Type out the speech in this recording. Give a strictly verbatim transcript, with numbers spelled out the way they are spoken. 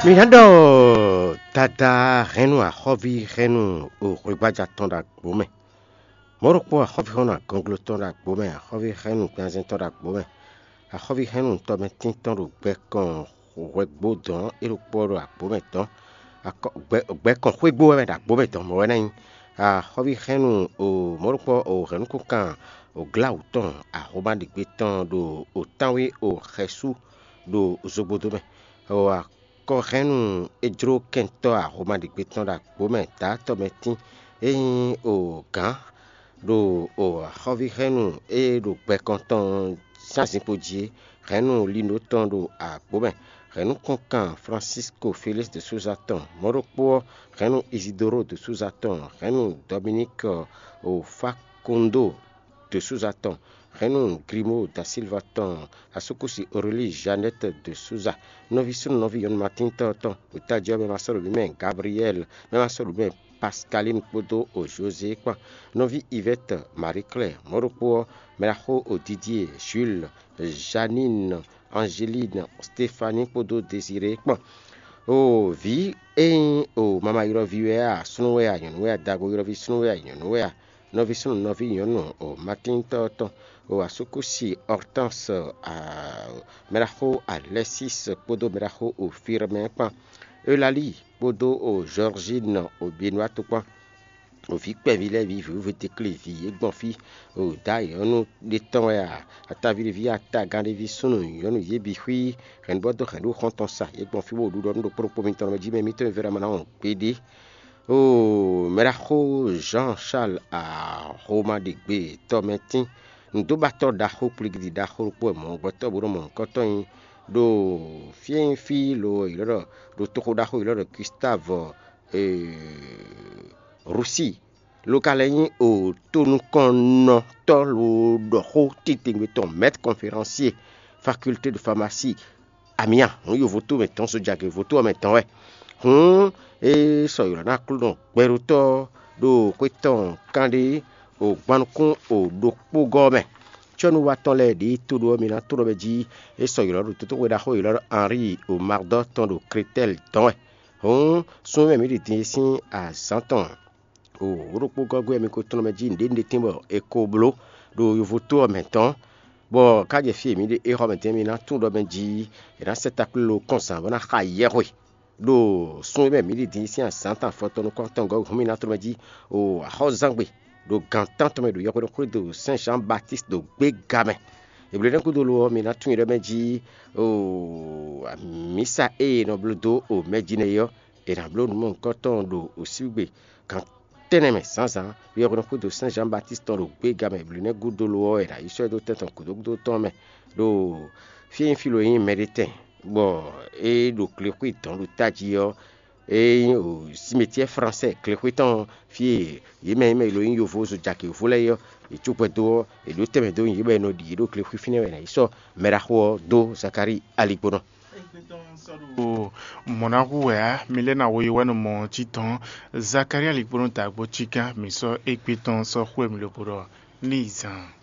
Mi ná ɖɔ dada hɛnnu axɔ́ví hɛnnu o hwegbaja tɔn ɖo agbo mɛ. Mɔ̌ ɖokpó axɔ́ví hɛnnu agɔnglo tɔn ɖo agbo mɛ, axɔ́ví hɛnnu gbɛnzɛn tɔn ɖo agbo mɛ, axɔ́ví hɛnnu tɔmɛtín tɔn ɖo gbɛ kɔn hwɛgbo dɔn é ɖokpó ɖo agbo mɛ dɔn. Gbɛ kɔn xwégbó wɛ mɛ ɖo agbo mɛ dɔn mɔ̌ wɛ ná nyí. Axɔ́ví hɛnnu o mɔ̌ ɖokpó o hɛnnu kúnkan o gláwǔ tɔn ahoma ɖigbe tɔn ɖo o tánwé o xɛsú ɖo zogbodo mɛ. Kɔhɛ́nnu é jló kɛntɔ́ ahoma ɖigbe tɔn ɖo agbo mɛ dǎ tɔmɛtín é nyí o gǎn ɖo o axɔ́ví hɛnnu e ɖo gbɛkɔn tɔn sín azinkpo jí é, hɛnnu lino tɔn ɖo agbo mɛ, hɛnnu kúnkan Francisco Félix de Souza tɔn, mɔ̌ ɖokpó ɔ́, hɛnnu Isidoro de Souza tɔn, hɛnnu Dominique o Facundo de Souza tɔn, hɛnnu Grimo da Silva tɔn, asúkúsi Aurélie Jeannette de Souza, nɔví súnnu nɔví nyɔ̌nu Matíntɔ́ tɔn, ɖo tají ɔ́ mɛ ma sɔ́ ɖo nǔ mɛ Gabriel, mɛ ma sɔ́ ɖo nǔ mɛ Pascaline kpódó o José kpán, nɔví Yvette Marie Claire, mɔ̌ ɖokpó ɔ́, mɛɖaxó o Didier, Jules, Janine, Angeline, Stéphanie kpódó Désiré kpán. O vǐ e nyí o mama ylɔ́ví wɛ a, súnnu wɛ a, nyɔ̌nu wɛ a, dago ylɔ́ví súnnu wɛ a, nyɔ̌nu wɛ a, nɔví súnnu nɔví nyɔ̌nu o Matíntɔ́ tɔn, o asúkúsi Hortense, mɛɖaxó Alexis kpódó mɛɖaxó o Firmin kpán, Eulalie kpódó o Georgine o Benoît kpán. O vǐ kpɛví lɛ́ɛ vǐ vǐwúvétéklé vǐ e gbɔn fí o dǎ nyɔ̌nu ɖé tɔn wɛ a, ataví ɖé ví atagán ɖé ví súnnu nyɔ̌nu yě bǐ xwí hɛ̌nnu bɔ dó hɛ̌nnu xɔ́ntɔn sa, yě gbɔn fí bó ɖuɖɔ nú ɖokpó ɖokpó mitɔn mɛ jí mɛ mítɔn e Vɛ́ɖámaná wɔn gbeɖé. Oo, mɛɖaxó Jean Charles Ahomaɖegbe tɔmɛtín, nǔdóbatɔ́ ɖaxó kplígídi ɖaxó ɖokpó wɛ mɔ̌hunkɔtɔn bó nɔ́ mɔ nǔkɔntɔn nyi ɖo fí e nyí fí lo ylɔ́ ɖɔ ɖo toxo ɖaxó ylɔ́ ɖɔ Gustave Russie, lo ka lɛ́ nyí o tonukɔnnɔtɔ́ lo ɖɔ xó titewungbe tɔn, maître conférencier faculté de pharmacie, amia hǔn yovo tó mɛ tɔn, sojagě vo tó ɔ́ mɛ tɔn wɛ. Hǔn é sɔ ylɔ̌ ná Aklúnɔ gbɛɖótɔ́ ɖo xwé tɔn kanɖé o gban nukún o ɖokpógɔ́ mɛ. Cɔ́nuwatɔ́ lɛ́ɛ ɖě to ɖó ɔ́, mi ná to ɖɔ mɛ jí é sɔ ylɔ̌ ɖo tótóxwe ɖaxó ylɔ́ ɖɔ Henri o Mardɔ tɔn ɖo Kretɛ́l dɔn wɛ. Hǔn, súnnu e mǐ ɖi din é sín azǎn tɔn o wǒ ɖokpó gɔ́ gbe wɛ mi ko tlɔ́n mɛ jí nǔɖé nǔɖé tɛ́n bɔ è ko bló ɖo yovo tó ɔ́ mɛ tɔn, bɔ ká jɛ fí e mǐ ɖe é xɔ mɛ din mi ná tunwun ɖɔ mɛ jí è nǎ sɛ́ takplé lo kɔn zǎn bó ná xa yɛhwe ɖo sun e mɛ mǐ ɖi din sín azǎn tɔn afɔtɔn nukɔntɔn gɔ́ hǔn mi ná tlɔ́n mɛ jí o axɔ́zangbe ɖo gan tántɔn mɛ ɖo yɔhweɖɔxwé do Sɛ́n Zǎn Batíst ɖo gbéga mɛ. Eblénɛ́ gúdo lo ɔ́, mi ná tunwun ɖɔ mɛ jí o mǐsa e è nɔ bló dó o mɛ jí nɛ́ é ɔ́, è nǎ bló nǔ mɔ̌hunkɔtɔn ɖo osígbe gan tɛ́nnɛ mɛ zǎnzǎn, yɔhweɖɔxwé do Sɛ́n Zǎn Batíst tɔn ɖo gbéga mɛ. Eblénɛ́ gúdo lo ɔ́, è nǎ yi sɔ́ ɛ dó tɛn tɔn gǔdo gúdo tɔn mɛ ɖo fí e nyí fí lo e nyí mɛɖétɛn, bɔ é ɖo glexwé dɔn ɖo tají ɔ́, é nyí simetiɛ́ fransɛ́ glexwé tɔn, fí e yě mɛ e mɛ lo nyí yovo zo jake yovo lɛ́ɛ é ɔ́, yě cógbɛ́ dó ɔ́, yě ɖó tɛnmɛ dó nyi yě bɔ è nɔ ɖi yě ɖo glexwé fínɛ́ wɛ è nǎ yi sɔ́ mɛɖaxó ɔ́ dó Zakalíi aligbónɔ. Ɖo mɔ̌ ná hu wɛ ǎ, mi lɛ́ ná wo yi wɛ nɔ mɔ ɔ́ cí tɔn. Zakalíi aligbónɔ da agbo cí gán, mǐ sɔ́ égbé tɔn sɔ́ xwé mì lobo ɖɔ ní yi zan.